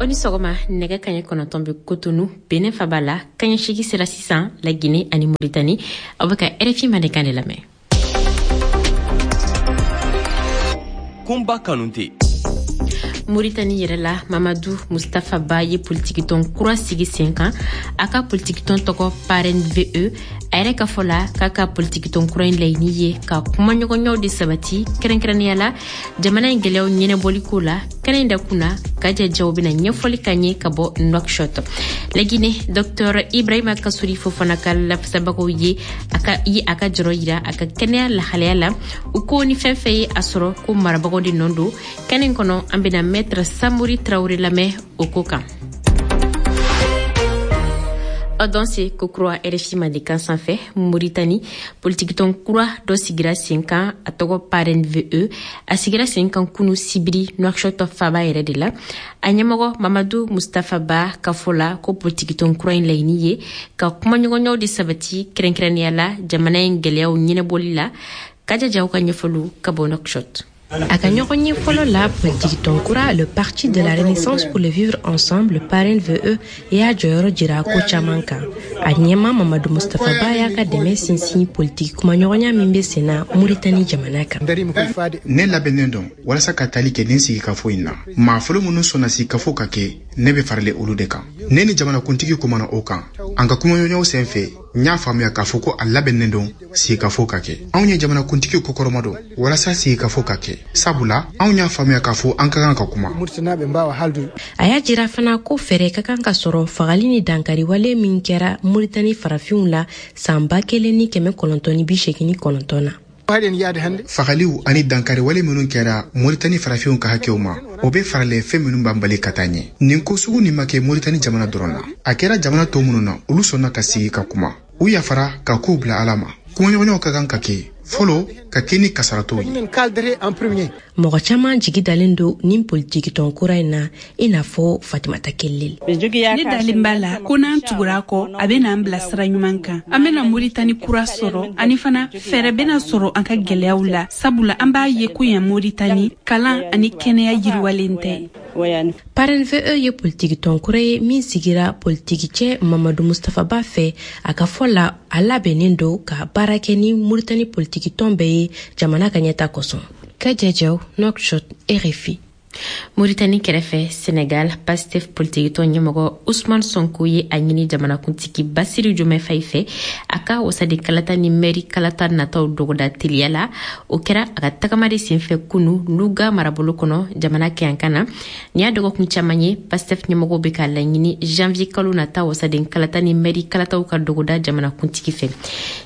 O ni sɔgɔma. Nɛgɛ kaɲɛ 9 bɛ Kotonu, Benin faba la. Kaɲɛ 8 sera sisan Lagine ani Moritani. Aw bɛ ka RFI Mandenkan de lamɛn. Kunba Kanute. Moritani yɛrɛ la, Mamadu Mustafa Ba ye politikitɔn kura sigi sen kan. A ka politikitɔn tɔgɔ PAREN VE. A yɛrɛ ka fɔ la k'a ka politikitɔn kura in laɲini ye ka kumaɲɔgɔnyaw de sabati, kɛrɛnkɛrɛnnenya la jamana in gwɛlɛyaw ɲɛnɛbɔliko la. Kɛnɛ in dakun na, Kaja Jaw bena ɲɛfɔli ka ɲɛ ka bɔ Nouakchott. Lagine, Dr Ibrahima Kasuri Fofana ka lafasabagaw ye a ka ye a ka jɔrɔ yira a ka kɛnɛya lahalaya la. U ko ni fɛn fɛn ye a sɔrɔ, ko marabagaw de nɔ don. Kɛnɛ in kɔnɔ, an bena Maître Samori Traoré lamɛn o ko kan. Aw danse kokura RFI Mandenkan sanfɛ. Moritani, politikitɔn kura dɔ sigira sen kan, a tɔgɔ PAREN VE. A sigira sen kan kunu sibiri Nouakchott faba yɛrɛ de la. A ɲɛmɔgɔ Mamadu Mustafa Ba ka fɔ la ko politikitɔn kura in laɲini ye ka kumaɲɔgɔnyaw de sabati, kɛrɛnkɛrɛnnenya la jamana in gwɛlɛyaw ɲɛnɛbɔli la. Kaja Jaw ka ɲɛfɔliw ka bɔ Nouakchott. A ka ɲɔgɔn ye fɔlɔ la, politikitɔn kura le Parti de la Renaissance pour le vivre ensemble, PAREN VE, y'a jɔyɔrɔ jira ko caman kan. A ɲɛma Mamadu Mustapha Ba y'a ka dɛmɛ sinsin politiki kumaɲɔgɔnya min bɛ sen na Muritani jamana kan. Ne labɛnnen don walasa ka tali kɛ nin sigikafo in na. Maa fɔlɔ minnu sɔnna sigikafo ka kɛ, ne bɛ farale olu de kan. Ne ni jamanakuntigi kumana o kan. An ka kumaɲɔgɔnyaw sen fɛ, n y'a faamuya k'a fɔ ko a labɛnnen don sigikafo ka kɛ. Anw ye jamanakuntigi kɔkɔrɔma don walasa sigikafo ka kɛ, sabula anw y'a faamuya k'a fɔ an ka kan ka kuma. A y'a jira fana ko fɛɛrɛ ka kan ka sɔrɔ fagali ni dankariwale min kɛra Muritani farafinw la san 1989 na. Fagaliw ani dankariwale minnu kɛra Moritani farafinw ka hakɛw ma, o bɛ faralen fɛn minnu b'an bali ka taa ɲɛ. Nin ko sugu nin ma kɛ Moritani jamana dɔrɔn na, a kɛra jamana tɔ minnu na, olu sɔnna ka sigi ka kuma. U yafara ka kow bila Ala ma. Kumaɲɔgɔnyaw ka kan ka kɛ fɔlɔ, ka kɛ ni kasaratɔw ye. Mɔgɔ caman jigi dalen don nin politikitɔn kura in na, i n'a fɔ Fatimata Kelel. Ne dalen b'a la ko n'an tugura a kɔ, a bɛ n'an bila sira ɲuman kan. An bɛna Moritani kura sɔrɔ, ani fana fɛɛrɛ bɛna sɔrɔ an ka gwɛlɛyaw la, sabula an b'a ye ko yan Moritani, kalan ani kɛnɛya yiriwalen tɛ. PAREN VE ye politikitɔn kura ye min sigira politikicɛ Mamadu Mustapha Ba fɛ. A ka fɔ la, a labɛnnen don ka baara kɛ ni Muritani politikitɔn bɛɛ ye jamana ka ɲɛta kosɔn. Kaja Jaw, Nouakchott, RFI. Moritani kɛrɛfɛ, Senegal, Pastef politikitɔn ɲɛmɔgɔ Usman Sonko ye a ɲini jamanakuntigi Basiru Jomɛ Fayi fɛ a ka wasaden kalata ni mɛri kalata nataw dɔgɔda teliya la. O kɛra a ka tagama de senfɛ kunu Luga marabolo kɔnɔ, jamana kɛyankan na. Nin y'a dɔgɔkun caman ye Pastef ɲɛmɔgɔw bɛ ka laɲini janvier kalo nata wasaden kalata ni mɛri kalataw ka dɔgɔda jamanakuntigi fɛ.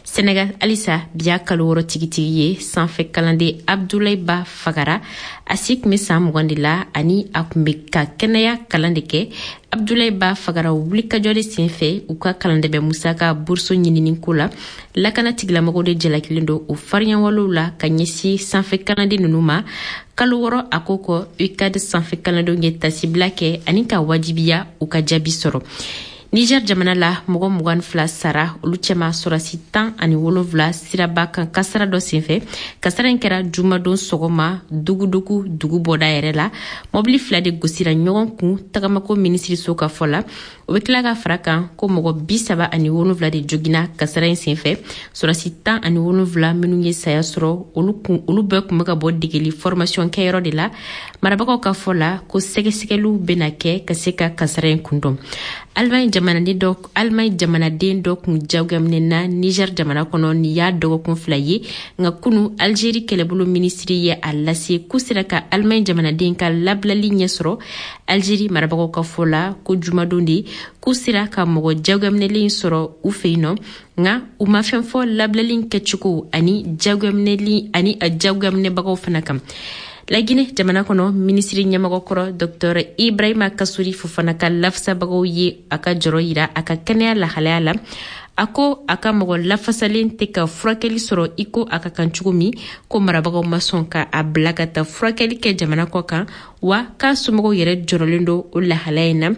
Senegal halisa, bi y'a kalo 6 tigitigi ye sanfɛ kalanden Abdulayi Ba fagara. A si tun bɛ san 20 de la ani a tun bɛ ka kɛnɛya kalan de kɛ. Abdulayi Ba fagara wulikajɔ de senfɛ u ka kalandɛbɛ musaka bourse ɲinini ko la. Lakana tigilamɔgɔw de jalakilen don o fariɲawalew la ka ɲɛsin sanfɛ kalanden ninnu ma. Kalo 6 a ko kɔ, UCAD sanfɛ kalandenw ye tasibila kɛ ani ka wajibiya u ka jaabi sɔrɔ. Niger jamana la, mɔgɔ 22 sara, olu cɛma sɔrasi 17, siraba kan kasara dɔ senfɛ. Kasara in kɛra jumadon sɔgɔma Dugudugu dugu bɔda yɛrɛ la. Mɔbili fila de gosira ɲɔgɔn kun. Tagamako minisiriso ka fɔ la, o bɛ tila ka fara kan ko mɔgɔ 37 de jogina kasara in senfɛ. Sɔrasi 17 minnu ye saya sɔrɔ, olu kun olu bɛɛ kun bɛ ka bɔ degeli formation kɛyɔrɔ de la. Marabagaw ka fɔ la ko sɛgɛsɛgɛliw bɛna kɛ ka se ka kasara in kundɔn. Allemagne jamanaden dɔ kun jagoyaminɛna Niger jamana kɔnɔ nin y'a dɔgɔkun 2 ye. Nka kunu, Algérie kɛlɛbolo minisiri ye a lase k'u sera ka Allemagne jamanaden ka labilali ɲɛ sɔrɔ. Algérie marabagaw ka fɔ la ko jumadon de k'u sera ka mɔgɔ jagoyaminɛlen sɔrɔ u fɛ yen nɔ, nka u ma fɛn fɔ labilali kɛcogo ani jagoyaminɛli ani jagoyaminɛbagaw fana kan. Lagine jamana kɔnɔ, minisiri ɲɛmɔgɔ kɔrɔ Dr Ibrahima Kasuri Fofana ka lafasabagaw ye a ka jɔrɔ yira a ka kɛnɛya lahalaya la. A ko a ka mɔgɔ lafasalen tɛ ka furakɛli sɔrɔ i ko a ka kan cogo min, ko marabagaw ma sɔn ka a bila ka taa furakɛli kɛ jamana kɔ kan, wa k'a somɔgɔw yɛrɛ jɔrɔlen don o lahalaya in na.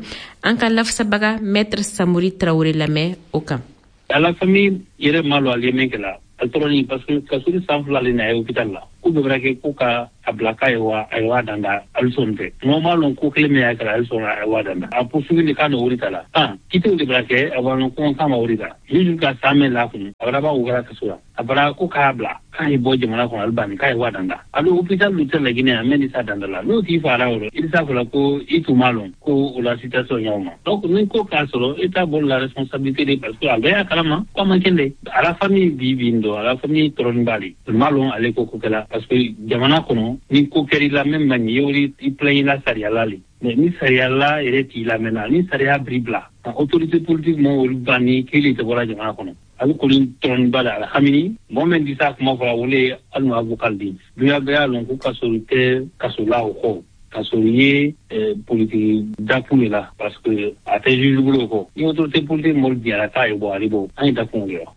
An ka lafasabaga Maître Samori Tarawele lamɛn o kan. A la famille yɛrɛ ma lɔ ale min kɛla a tɔrɔni, parce que Kasuri san 2 le na ye hôpital la. Ko bɛɛ bɛra kɛ ko ka a bila k'a ye wa a ye wa danda alisɔn tɛ mɔgɔ m'a lɔn ko kelen min y'a kɛra alisɔn a ye wa danda a poursuivi de k'a nɔ wari ta la kitiw de bɛra kɛ a b'a ko k'a ma wari ta juge ka san mɛn la kun a bara ba u kɛra kaso la a bara ko k'a bila k'a ye bɔ jamana kɔnɔ alibani k'a ye wa danda a bɛ hôpital lu tɛ Laginɛ a mɛn ni sa danda la n'o t'i fara o i bɛ s'a fɔla ko i tun m'a lɔn ko o la situation ɲaw ma donc ni ko k'a sɔrɔ État bolo la responsabilité de parce que a bɛɛ y'a kalama ko a man kɛn dɛ a la famille bi bi in dɔ a la famille tɔɔrɔnin b'ale m'a lɔn ale ko kɛla parce que jamana kɔnɔ ni ko kɛr'i la même man ɲi i plaint la sariya la le mais ni sariya la yɛrɛ t'i lamɛnna ni sariya biri bila autorité politique ma olu ban ni kelen tɛ bɔra jamana kɔnɔ a bɛ kɔni tɔrɔniba la alhamini mɔgɔ min tɛ s'a kuma fɔra wele ye hali n'o avocat di dunya bɛɛ y'a lɔn ko kaso tɛ kaso la o kɔ kaso ye politiki dakun de la parce que a tɛ juge bolo kɔ ni autorité politique mɔgɔ diyara k'a ye bɔ ale bɔ an ye dakun de la.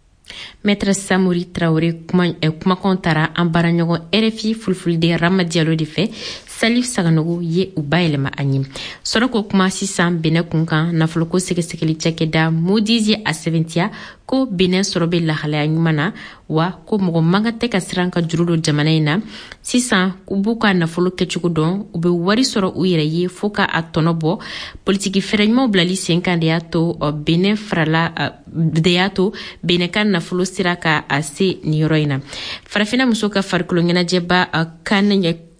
Maître Samori Traoré kumakan taara an baaraɲɔgɔn RFI Fulfulde Rama Diallo de fɛ. Salif Saganogo ye u bayɛlɛma an ye. Sɔrɔ ko kuma sisan Benin kun kan nafoloko sɛgɛsɛgɛli cakɛda Moody's ye a sɛbɛntiya ko Benin sɔrɔ bɛ lahalaya ɲuman na wa ko mɔgɔ man kan tɛ ka siran ka juru don jamana in na. Sisan u b'u ka nafolo kɛcogo dɔn, u bɛ wari sɔrɔ u yɛrɛ ye fo ka a tɔnɔ bɔ. Politiki fɛɛrɛ ɲumanw bilali sen kan de y'a to Benin farala de y'a to Benin ka nafolo sera ka a se nin yɔrɔ in na. Farafinna muso ka farikolo ɲɛnajɛba kan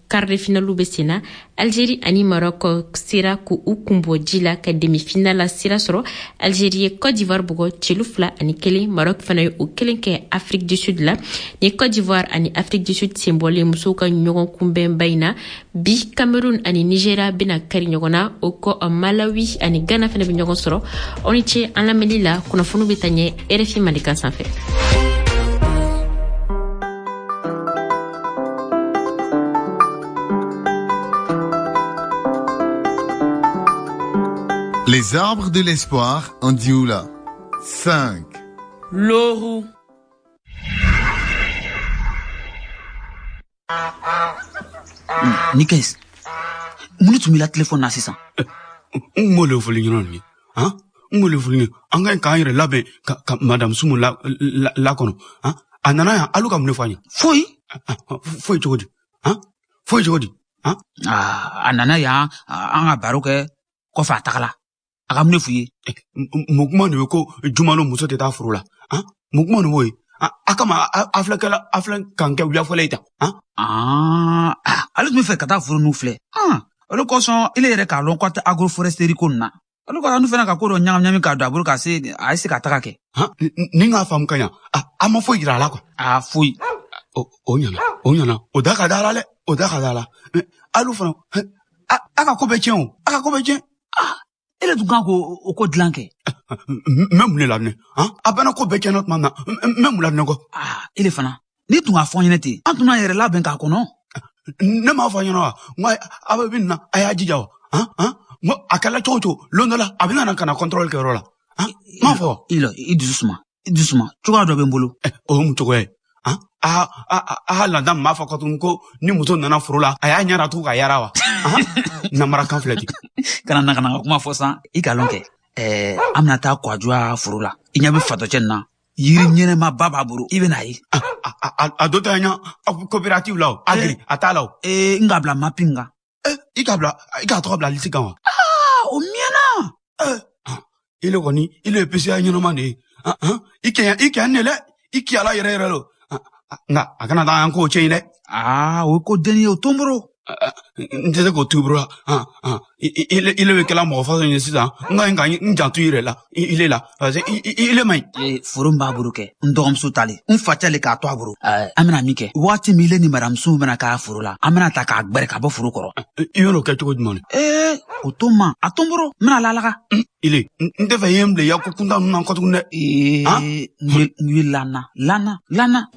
quart de finale bɛ sen na. Algérie ani Maroc sera k'u kunbɔ ji la ka demi-finale la sira sɔrɔ. Algérie ye Côte d'Ivoire bugɔ 2-1. Maroc fana ye o kelen kɛ Afrique du Sud la. Ni Côte d'Ivoire ani Afrique du Sud senbɔlen musow ka ɲɔgɔn kunbɛnba in na, bi Cameroun ani Nigeria bɛna kari ɲɔgɔn na. O kɔ Malawi ani Ghana fana bɛ ɲɔgɔn sɔrɔ. Aw ni ce an lamɛnni la. Kunnafoniw bɛ taa ɲɛ RFI Mandenkan sanfɛ. Les arbres de l'espoir en Dioula. 5. Loru. Nikes, mun tun b'i la telefɔni na sisan? N m'o le fɔli ɲɛna nin ye, han? N m'o le fɔli ɲɛna. An ka ɲi k'an yɛrɛ labɛn ka madame Sumu la kɔnɔ, han? A nana yan, alu ka mun de fɔ an ye? Foyi. Foyi cogo di? Han? Foyi cogo di? Han? A nana yan, an ka baro kɛ. Kɔfɛ a tagala a ka mun de f'u ye? Mun kuma de bɛ ko Jumano muso tɛ taa foro la, han? Mun kuma de b'o ye? A kama a filɛ kɛla a filɛ k'an kɛ wulafɔlɔ ye tan, han? Ale tun bɛ fɛ ka taa foro ninnu filɛ. O de kosɔn ile yɛrɛ k'a lɔn k'a tɛ agroforesterie ko nin na. O de kosɔn anu fana ka ko dɔ ɲagami ɲagami k'a don a bolo ka se a ye se ka taga kɛ. Ni n k'a faamu ka ɲa, a ma foyi yira a la quoi. A foyi. O ɲɛna, o ɲɛna, o da ka da la dɛ, o da ka da la. Alu fana, a ka ko bɛ tiɲɛ o, a ka ko bɛ tiɲɛ. Ele tun kan k'o ko dilan kɛ. N bɛ mun de laminɛ? A bɛna ko bɛɛ tiɲɛna tuma min na, n bɛ mun laminɛ kɔ? Ele fana, n'i tun k'a fɔ n ɲɛna ten, an tun b'an yɛrɛ labɛn k'a kɔnɔ. Ne m'a fɔ a ɲɛna wa? N ko a bɛ min na, a y'a jija o. N ko a kɛla cogo o cogo, lon dɔ la, a bɛ na ka na contrôle kɛ yɔrɔ la. N m'a fɔ. I dusu suma, i dusu suma. Cogoya dɔ bɛ n bolo. O ye mun cogoya ye? A lada m'a fɔ tuguni ko ni muso nana foro la, a y'a ɲɛ tugun ka yara wa? Namarakan filɛ ten. Kana na ka kuma fɔ san, i ka lɔn kɛ. An bɛna taa Kwadwoa foro la. I ɲɛ bɛ fatɔcɛ nin na. Yiri ɲɛnɛmaba b'a bolo. I bɛna ye. A dɔ tɛ ɲa coopérative la o, agri a t'a la o. N k'a bila mapping kan. I k'a bila, i k'a tɔgɔ bila lisi kan wa? O miɲɛna. Ile kɔni, ile ye PCA ɲɛnama de ye. I kɛ ne dɛ, i kiyala yɛrɛ yɛrɛ lo. Nka a kana taa an k'o tiɲɛ dɛ. O ye ko denni ye, o to n bolo. N tɛ se k'o to i bolo la. Ile bɛ kɛla mɔgɔ fasɔn ye sisan. N ka ɲi ka n janto i yɛrɛ la, ile la. Parce que ile man ɲi. Foro min b'a bolo kɛ, n dɔgɔmuso talen, n facɛ le k'a to a bolo. An bɛna min kɛ, waati min ile ni madame Sumu bɛna k'a foro la, an bɛna ta k'a gbɛrɛ ka bɔ foro kɔrɔ. I bɛn'o kɛ cogo jumɛn? O to n ma, a to n bolo, n bɛna lalaga. Ile, n tɛ fɛ i ye n bila i ka ko kuntan ninnu na kɔ tuguni dɛ. N ye lana, lana, lana.